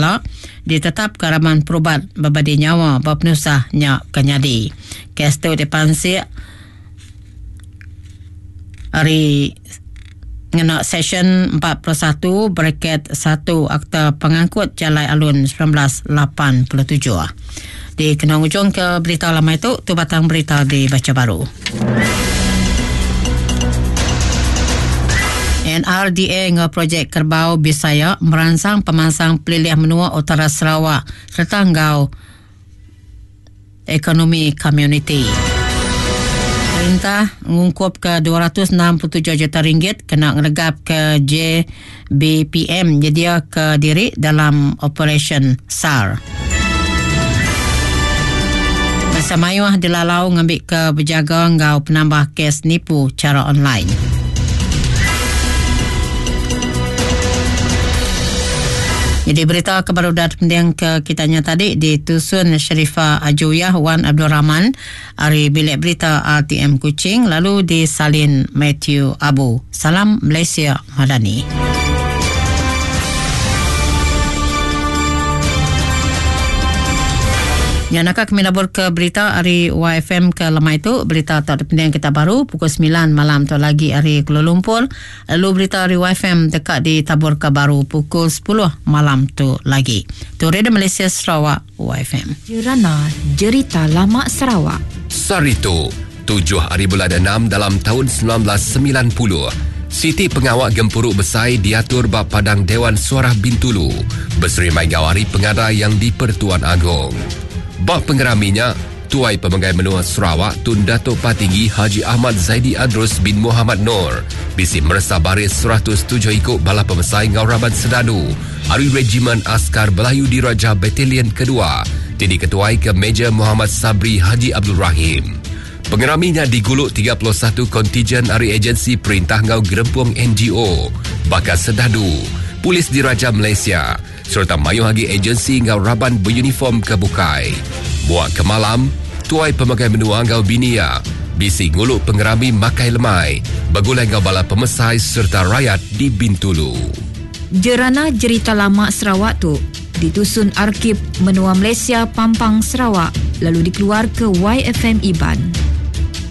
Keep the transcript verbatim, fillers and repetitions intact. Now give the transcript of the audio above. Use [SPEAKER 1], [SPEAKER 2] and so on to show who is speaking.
[SPEAKER 1] kala ditetap ke raban perubat berbadi nyawa berpenusah nya kenyadi. Kes tu dipansik hari ngena session empat puluh satu bracket satu Akta Pengangkut Jalai Alun seribu sembilan ratus lapan puluh tujuh. Di kena ujung ke berita lama itu, tu batang berita dibaca baru. N R D A ngau projek Kerbau Bisaya merangsang pemansang pelilih menua Utara Sarawak serta ngau ekonomi komuniti. Perintah ngungkup ke dua ratus enam puluh tujuh juta ringgit kena ngeregap ke J B P M nyedia ke diri dalam operasyen S A R. Masa mayuh dilalau ngambil ke berjaga ngau penambah kes nipu cara online. Jadi berita kebarudat penting ke kitanya tadi ditusun Sharifah Ajuyah Wan Abdul Rahman ari bilik berita R T M Kuching lalu disalin Matthew Abu. Salam Malaysia Madani. Ya, nak kami labur ke berita hari Y F M ke lemai itu. Berita tak ada penting kita baru pukul sembilan malam tu lagi hari Kuala Lumpur. Lalu berita hari Y F M dekat di tabur ke baru pukul sepuluh malam tu lagi. Tu Radio Malaysia Sarawak Y F M.
[SPEAKER 2] Jerana Jerita Lama Sarawak.
[SPEAKER 3] Sarito, tujuh hari bulan enam dalam tahun sembilan belas sembilan puluh. Siti Pengawak Gempuruk Besai diatur bab Padang Dewan Suara Bintulu. Berseri Mai Gawari pengada yang di Pertuan Agong. Bab pengeraminya, Tuai Pemegai Menua Sarawak Tun Datuk Patinggi Haji Ahmad Zaidi Adrus bin Muhammad Noor bisi meresa baris seratus tujuh ikut bala pemesai Ngau Raban Sedadu Hari Regimen Askar Belayu Diraja Batalion Kedua jadi ketuai ke Major Muhammad Sabri Haji Abdul Rahim. Pengeraminya diguluk tiga puluh satu kontijen hari agensi perintah Ngau Gerempung N G O, Bakar Sedadu, Polis Diraja Malaysia serta mayuh lagi agensi ngau raban beruniform ke bukai. Buat ke malam, Tuai Pemakai Menua ngau Binia, bisi nguluk pengerami makai lemai, begulai ngau bala pemesai serta rakyat di Bintulu.
[SPEAKER 2] Jerana Jerita Lama Sarawak tu ditusun Arkib Menua Malaysia Pampang Sarawak lalu dikeluar ke Y F M Iban.